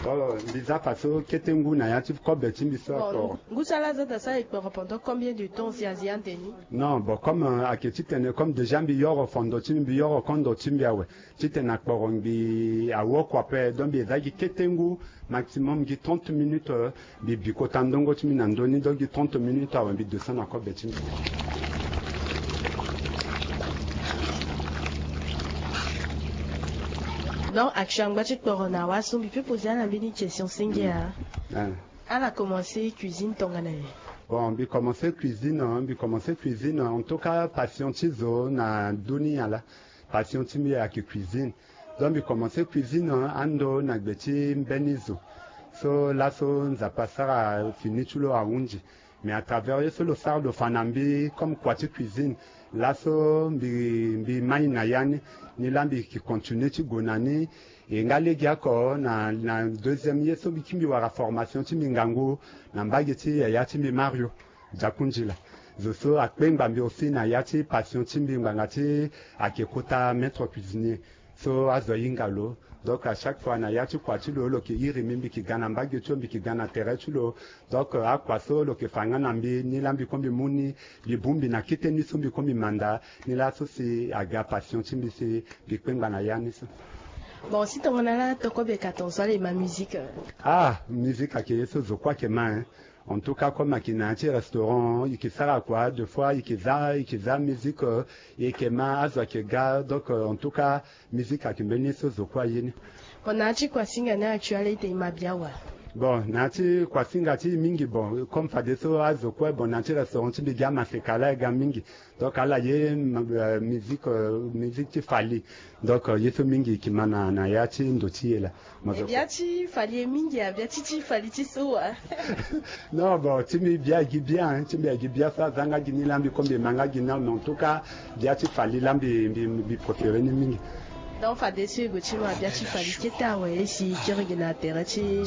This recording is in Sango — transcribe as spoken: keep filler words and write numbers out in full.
Oh, mbi za fa so kete ngu na ya ti kobe ti mbi so. Bon, akporo. Ngu so ala za daa sara ekporo pendant combien de temps si azi ande ni? Non, bon, comme, euh, ayeke titene comme déjà mbi yoro fondo ti mbi, mbi yoro kondo ti mbi awe. Titene akporo mbi awo kua ape, donc mbi eza gi kete ngu, maximum gi trente minutes, euh, mbi bi kota ndongo ti mbi na ndö ni, donc gi trente minutes awe mbi descend na kobe ti mbi. Donc action angba ti kporo na wa so mbi peut poser ala mbeni question senge a. Ah. Ala commencer cuisine tongana nyen? Bon, mbi commencer cuisine, hein, mbi commencer cuisine, en tout cas passion ti zo na ndö ni ala. Passion ti mbi ayeke cuisine. Donc mbi commencer cuisine, hein, ando na gbe ti mbeni zo. So laso Nzapa asara fini ti lo ahunzi. Mais à travers ye so lo sara lo fa na mbi comme kua ti cuisine, laso mbi, mbi mai na ya ni, ni laa mbi yeke continuer ti gue na ni. E nga legeoko na, na deuxième ye so mbi kiri mbi wara formation ti mbi ngangu na mbage ti yaya ti mbi Mario Diakoundjila. Zo so akpengba mbi aussi na ya ti passion ti mbi ngbanga ti ayeke kota maître cuisinier. So azo ahinga lo. Donc à chaque fois na ya ti kua ti lo, lo yeke iri mbi, mbi yeke ga na mbage ti lo, mbi yeke ga na tere ti lo. Donc, euh, akua so lo yeke fa nga na mbi, ni laa mbi kue mbi mu ni, mbi bongbi na kete ni so mbi kue mbi manda, ni laa so si aga passion ti mbi si mbi kpengba na ya ni so. Bon, si tongana ala to kobe ka tongaso ala ma musique? Ah, musique ayeke ye so zo kue ayeke ma, hein. En tout cas, comme ayeke na ya ti restaurant, e yeke sara kua, des fois e yeke za, e yeke za musique, euh, e yeke ma, azo ayeke ga. Donc, euh, en tout cas, musique ayeke mbeni ye so zo kue aye ni. Bon, na ya ti kuasinga ni actuel ete e ma bia wa? Bon, na ya ti kuasinga ti e mingi, bon, comme fadeso azo kue, bon, na ya ti restaurant ti mbi gi amaseka laa e ga mingi. Donc ala ye, euh, musique, euh, musique ti Fally. Donc, euh, ye so mingi e yeke ma na, na ya ti ndo ti e laa. Mo zo bia ti Fally ye mingi a, bia ti, ti Fally ti so wa? Non, bon, ti mbi bia e gi bia, hein, ti mbi e gi bia so aza nga gi ni laa mbi kue mbi ma nga gi ni, mais en tout cas bia ti Fally laa mbi, mbi, mbi préféré ni mingi. Donc fadeso e gue ti ma bia ti Fally kete awe, e si kiri gi na tere ti